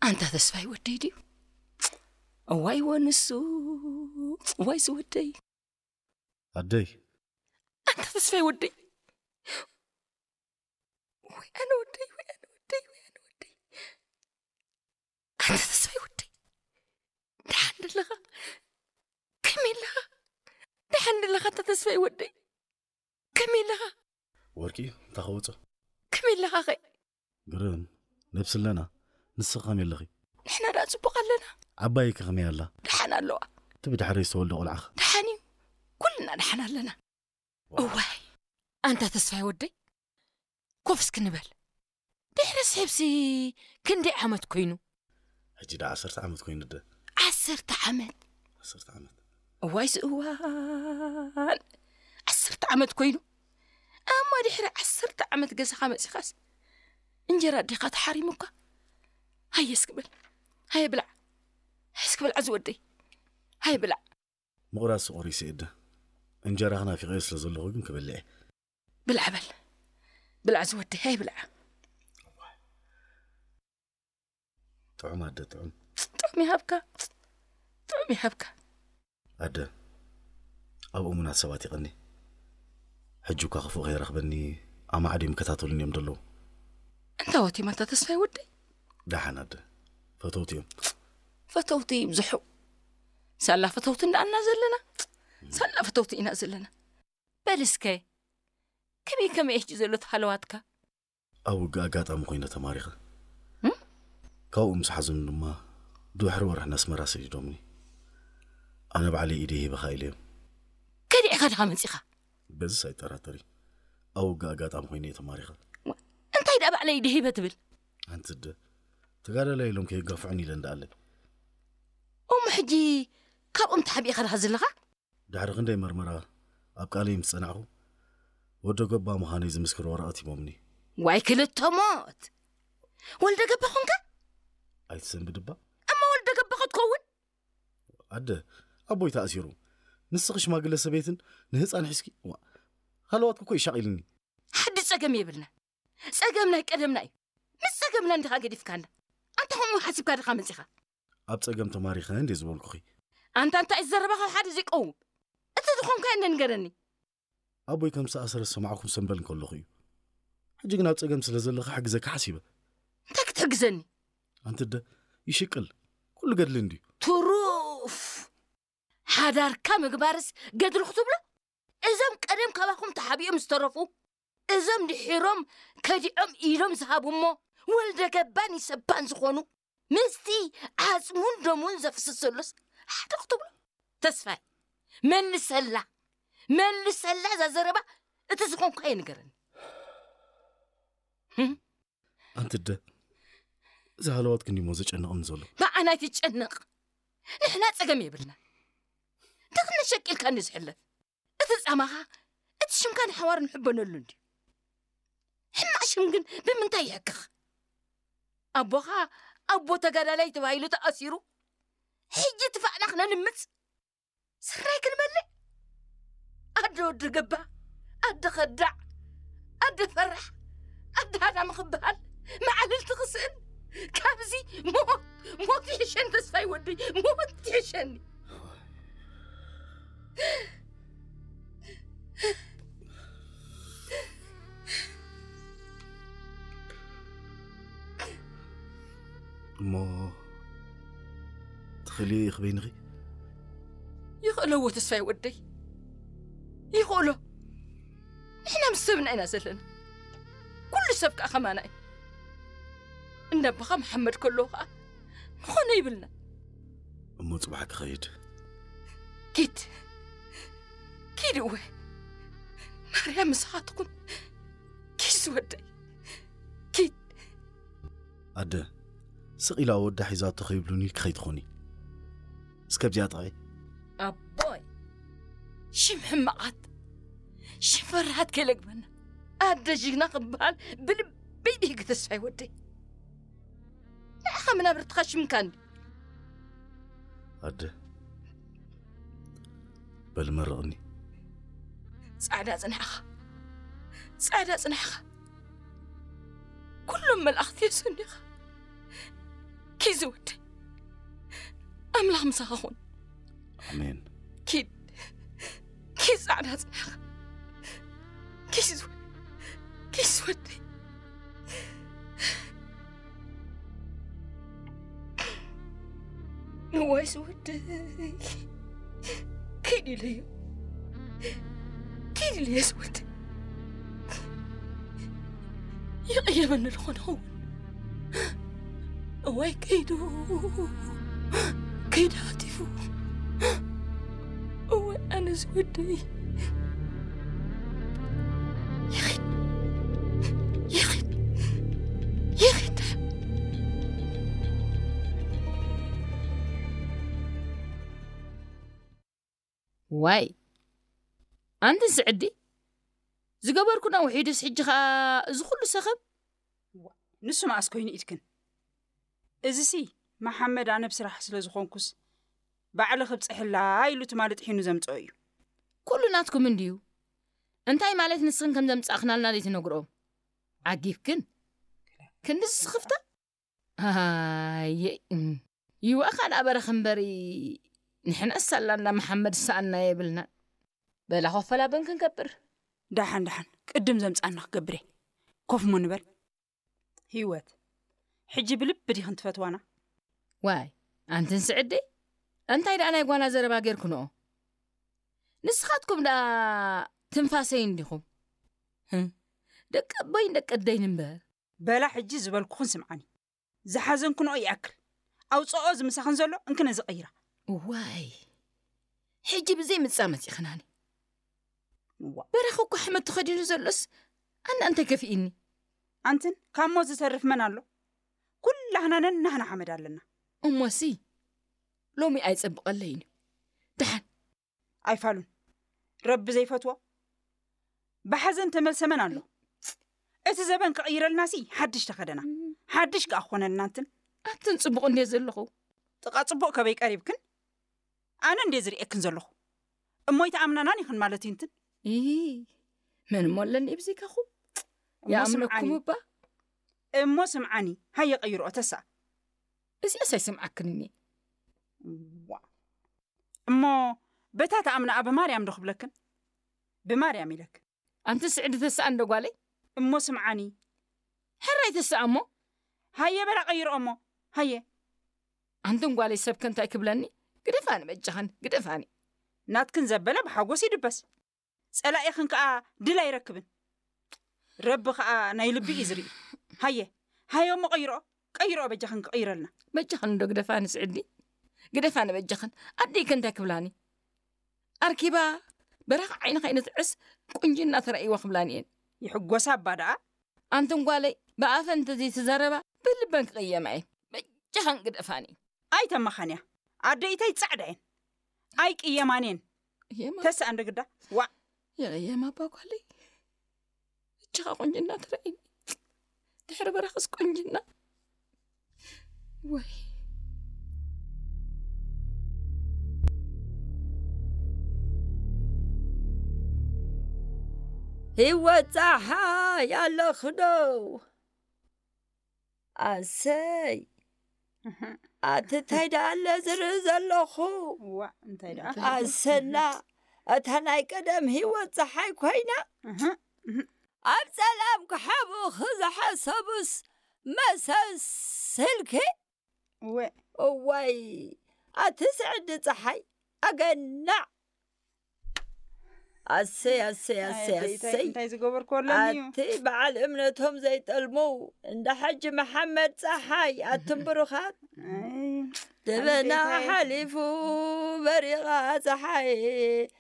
ኣንታ ተስፋይ ወደይ ድዩ? እዋይ ወንሱ፣ እዋይ ዝወደይ። ኣደይ። ኣንታ ተስፋይ ወደይ። ወይ ኣነ ወደይ፣ ወይ ኣነ ወደይ፣ ወይ ኣነ ወደይ። ኣንታ ተስፋይ ወደይ። ደሓን ደለኻ? ከመይ ኣለኻ? ደሓን ደለኻ ኣንታ ተስፋይ ወደይ? ከመይ ኣለኻ? ወርቂ፣ እንታይ ከወጾ? ከመይ ኣለኻ ኸ? ግርም፣ ነብሲ ኣለና። ንስኺ ከመይ ኣለኺ? ንሕና ደኣ ጽቡቕ ኣለና። ዓባይኪ ከመይ ኣላ? ደሓን ኣለዋ። እቲ ብድሕረይ ዝተወልደ ቆልዓኸ? ደሓን እዩ። ኩልና ደሓን ኣለና። እዋይ፣ ኣንታ ተስፋይ ወደይ፣ ኮፍ እስኪ ንበል። ድሕሪ ስሕብሲ ክንደይ ዓመት ኮይኑ? ሕጂ ደኣ ዓሰርተ ዓመት ኮይኑ ደ። ዓሰርተ ዓመት? ዓሰርተ ዓመት። እዋይ ዝእዋን! ዓሰርተ ዓመት ኮይኑ? እሞ ድሕሪ ዓሰርተ ዓመት ገዛኻ መጺኻስ እንጀራ ኣዴኻ ተሓሪሙካ? ሃየ እስኪ በል። ሃየ ብላዕ። እስኪ ብላዕ ዝወደይ። ሃየ ብላዕ። ምቑራስ ቆሪሰ እየ ደ። እንጀራኺ ናፊቐዮ ስለ ዘለኹ ግን ክበልዕ እየ። ብላዕ በል። ብላዕ ዝወደይ፣ ሃየ ብላዕ። ጥዑም ኣደ፣ ጥዑም። ጥዑም ይሃብካ። ጥዑም ይሃብካ። ኣደ፣ ኣብ እሙናት ሰባት ይቐኒ። ሕጂ እኳ ክፉእ ከይረኽበኒ ኣማዕድዮም ይከታተሉኒ እዮም ዘለዉ። እንታይ ወት ይመታ ተስፋይ ወደይ? ደሓን ኣደ፣ ፈተውቲ እዮም። ፈተውቲ ይብዝሑ። ሳላ ፈተውቲ እንዳኣና ዘለና። ሳላ ፈተውቲ ኢና ዘለና። በል እስከ፣ ከመይ ከመይ ሕጂ ዘሎ እቲ ሃለዋትካ? ኣብ ውግእ ኣጋጣሚ ኮይነ ተማሪኸ። እም? ካብኡ ምስ ሓዘኑ ድማ ድሕሪ ወርሒ ናስመራ ሰዲዶምኒ። ኣነ ባዕለይ ኢደይ ሂበኻ ኢለዮም። ከዲዕኻ ድኻ መጺኻ? በዚስ ኣይጠራጠሪ። ኣብ ውግእ ኣጋጣሚ ኮይነ እየ ተማሪኸ። ዋ፣ እንታይ ደኣ ባዕለይ ኢደይ ሂበ ትብል? ኣንቲ ኣደ፣ ተጋዳላይ ኢሎም ከየጋፍዑኒ ኢለ እንዳኣለ። እሞ ሕጂ ካብኦም ተሓቢእኻ ድኻ ዘለኻ? ድሕሪ ክንደይ መርመራ ኣብ ቃለይ ምስ ጸናዕኩ፣ ወዲ ገባ ምዃነይ ዝምስክር ወረቐት ሂቦምኒ። ዋይ ክልተ ሞት! ወልደ ገባ ኾንካ? ኣይትሰንብድ እባ። እሞ ወልደ ገባ ክትከውን? ኣደ፣ ኣቦይ ተኣሲሩ። ንስኺ ሽማግለ ሰበይትን ንህፃን ሒዝኪ፣ ዋ፣ ሃለዋትኩ እኮ ይሻቒልኒ። ሓዲ ጸገም የብልና። ጸገም ናይ ቀደምና እዩ። ምስ ጸገምና እንዲኻ ገዲፍካና። ኣንታ ከምኡ ሓሲብካ ድኻ መጺኻ? ኣብ ጸገም ተማሪኸ እንዴ ዝበልኩኺ? ኣንታ እንታይ እዩ ዘረባኻ ሓደ ዘይቀውም? እቲ ዝኾንካዮ እንደ ንገረኒ። ኣቦይ ከም ዝተኣሰረ ዝሰማዕኩ ሰንበል እንከለኹ እዩ። ሕጂ ግን ኣብ ጸገም ስለ ዘለኻ ሓግዘካ ሓሲበ። እንታይ ክትሕግዘኒ? ኣንቲ ኣደ፣ ይሽቅል። ኩሉ ገድሊ እንድዩ። ትሩፍ! ሓዳርካ ምግባርስ ገድሊ ክትብሎ? እዞም ቀደም ካባኹም ተሓቢኦም ዝተረፉ፣ እዞም ድሒሮም ከዲዖም ኢሎም ዝሃቡ እሞ ወልደ ገባን ይሰባን ዝኾኑ፣ ምስቲ ዓጽሙን ደሙን ዘፍስስ ዘሎስ ሓደ ክትብሎ? ተስፋይ፣ መልሰላ፣ መልሰላ እዛ ዘረባ፣ እቲ ዝኾንኳዮ ንገረኒ። ህም? ኣንቲ ኣደ፣ እዚ ሃለዋትኪ እንድዩ እሞ ዘጨንቐኒ ዘሎ። ንዓና ኣይትጨነቕ። ንሕና ጸገም የብልና። ደኽነ ሸቂልካ እንድዩ ዝሕለፍ። እቲ ጻማኻ፣ እቲ ሽምካ ንሓዋሩ ንሕበነሉ እንድዩ። ሕማቕ ሽም ግን ብምንታይ ይሕክኽ? ኣቦኻ ኣቦ ተጋዳላይ ተባሂሉ ተኣሲሩ፣ ሕጂ ትፋእና ክነልምጽ? ስርናይ ክንበልዕ? ኣደ ወዲ ገባ፣ ኣደ ኸዳዕ፣ ኣደ ፈራሕ፣ ኣደ ሃዳሚ ክበሃል፣ መዓልልቲ ክስእን፣ ካብዚ ሞት፣ ሞት ይሕሸኒ ተስፋይ ወደይ፣ ሞት ይሕሸኒ። እሞ ትኽእልዮ ኢኺ በይንኺ? ይኽእሎ እዎ ተስፋይ ወደይ፣ ይኽእሎ። ንሕና ምስ ሰብና ኢና ዘለና። ኩሉ ሰብ ከኣ ከማና እዩ። እንዳ ኣቦኻ መሓመድ ከለዉ ከኣ ምኾነ ይብልና። እሞ ጽባሕ ክኸይድ። ኪድ፣ ኪድ እወ። ማርያም ምሳኻ ትኹን። ኪድ ዝወደይ፣ ኪድ። ኣደ፣ ስቕ ኢላ ወዳ ሒዛቶ ከይብሉኒ ኢልኪ ከይትኾኒ። እስከ ኣብዚኣ ጥቕዒ። ኣቦይ፣ ሽም ሕማቓት፣ ሽም ፈራሃት ከይለግበና። ኣደ ጅግና ክበሃል ብልበይ ብህጊ ተስፋይ ወደይ። ንዓኻ መናብርትኻ ሽምካ እንዲ። ኣደ፣ በል መርቕኒ። ጻዕዳ ጽንሕኻ፣ ጻዕዳ ጽንሕኻ። ኩሎም መላእኽቲ የሰንኻ። እዩ ዝወደይ። ኣምላኽ ምሳኻ ኹን። ኣሜን። ኪድ ኪድ ጻዕዳ ጽናሕ ኪድ ዝወ- ኪድ ዝወደይ። እዋይ ዝወደይ። ኪድ ኢለዮ ኪድ ኢለዮ ዝወደይ። ይቕየመኒ ዝኾነ ኸውን። እዋይ ከይዱ ከይዱ ሃቲፉ። እዋይ ኣነ ዝወደይ። ይኺድ ይኺድ ይኺድ። ዋይ ኣንትን ስዕዲ ዝገበርኩና ውሒዱስ ሕጂ ኸኣ እዚ ኩሉ ሰኸም። ንሱ መኣስ ኮይኑ ኢድክን? እዚሲ መሓመድ ኣነ ብስራሕ ስለ ዝኾንኩስ ባዕሊ ክብፅሕላ ኢሉ ትማሊ ጥሒኑ ዘምፅኦ እዩ። ኩሉ ናትኩም እንድዩ። እንታይ ማለት ንስኽን ከም ዘምጻእኽናልና ዘይትነግርኦም? ዓጊብክን? ክንዲ ዝስኽፍታ? ኣየ ይዋእኻ ደኣ በረኽ እምበሪ ንሕናስ ሳላ እንዳ መሓመድ ሰኣና የብልና። በላ ኮፈላ በን ክንገብር። ደሓን ደሓን ቅድም ዘምፃና ክገብር እየ። ኮፍ እሞ ንበል። ህይወት ሕጂ ብልቢ ዲኽን ትፈትዋና? ዋይ ኣንትን ስዕደይ እንታይ ደኣ ናይ ጓና ዘረባ ጌርኩንኦ? ንስኻትኩም ደኣ ትንፋሰይ እንዲኹም። ህም፣ ደቂ ኣቦይን ደቂ ኣደይን እምበር። በላ ሕጂ ዝበልኩኽን ስምዓኒ። ዝሓዘንክንኦ ይኣክል። ኣውፅኦ ዝምሳኽን ዘሎ እንክነ ዝቐይራ። ዋይ ሕጂ ብዘይ ምጻ መጺኽናኒ። እዋ። በረኽ እኮ ሓመድ ተኸዲኑ ዘሎስ ኣነ እንታይ ከፊእኒ? ኣንትን ካብ ሞት ዝተርፍ መን ኣሎ? ኩላህና ነናህና ሓመድ ኣለና። እሞሲ ሎሚ ኣይጸብቐለይን እዩ። ደሓን ኣይፋሉን። ረቢ ዘይፈትዎ ብሓዘን ተመልሰ መን ኣሎ? እቲ ዘበን ክቕይረልናሲ ሓድሽ ተኸደና። ሓድሽ ከኣ ክኾነልና እንትን። ኣንትን ጽቡቕ እንድየ ዘለኹ። ጥቓ ጽቡቕ ከበይ ቀሪብክን? ኣነ እንድየ ዝርእየክን ዘለኹ። እሞ ኣይተኣምናናን ኢኽን ማለት እዩ እንትን። ኢ መን እሞ ኣለኒ ብዘይካኹም? እሞ ይኣምነኩም ስምዓኒ። እባ። እሞ ስምዓኒ፣ ሃየ ቀይርኦ ተሳ። እዚኣስ ኣይሰምዓክንን እየ። ዋ። እሞ በታ ተኣምናኣ ብማርያም ዶ ክብለክን? ብማርያም ኢለክን። ኣንቲ ስዕዲ ተስኣ እንዶ ጓለይ። እሞ ስምዓኒ። ሕራይ ተስኣ እሞ። ሃየ በላ ቀይርኦ እሞ። ሃየ። ኣንትን ጓለይ ሰብከ እንታይ ክብለኒ? ግደፋኒ በጃኽን ግደፋኒ። ናትክን ዘበለ ብሓጎስ ይድበስ። ጸላኢኽን ከኣ ድል ኣይረክብን። ረቢ ከኣ ናይ ልቢ እዩ ዝርኢ። ሃየ። ሃየ እሞ ቀይርኦ። ቀይርኦ በጃኽን ክቕይረልና። በጃኽን እንዶ ግደፋኒ ስዕዲ። ግደፋኒ በጃኽን። ኣደይከ እንታይ ክብላኒ? ኣርኪባ በረኻ ዓይኒ ከይንትዕስ ቁንጅና ተራእይዋ ክብላኒ እየን። ይሕጎሳ እባ ደኣ። ኣንትን ጓለይ ብኣፈን እንተዘይተዛረባ ብልበን ክቕየማ እየን። በጃኽን ግደፋኒ። ኣይተመኻንያ። ኣደይታይ ጻዕዳ እየን። ኣይቅየማን እየን። የማ ተስኣ እንዶ ግዳ። ዋ። የማ ኣባ ጓለይ። እጅኻ ቁንጅና ተራእይኒ። ድሕሪ በረኽስ ቁንጅና። ወይ ህይወት ጸሓይ ኣለኽዶ? ኣሰይ ኣቲ እንታይ ደኣ ኣለ ዝርኢ ዘለኹ? ዋ እንታይ ደኣ? ኣሰና እታ ናይ ቀደም ህይወት ጸሓይ ኮይና ኣብ ጸላም ክሓብኡኺ ዝሓሰቡስ መሰስልኪ? እወ እዋይ ኣቲ ስዕዲ ጸሓይ ኣገናዕ። ኣሰይ ኣሰይ ኣሰይ ኣሰይ እንታይ ዝገበርኩ ኣለኒ እዩ? ኣቲ በዓል እምነቶም ዘይጠልሙ እንዳ ሓጂ መሓመድ ጸሓይ ኣትም ብሩኻት ኣይ፣ ደበና ኣንተይታይ? ሓሊፉ በሪቓ ጸሓይ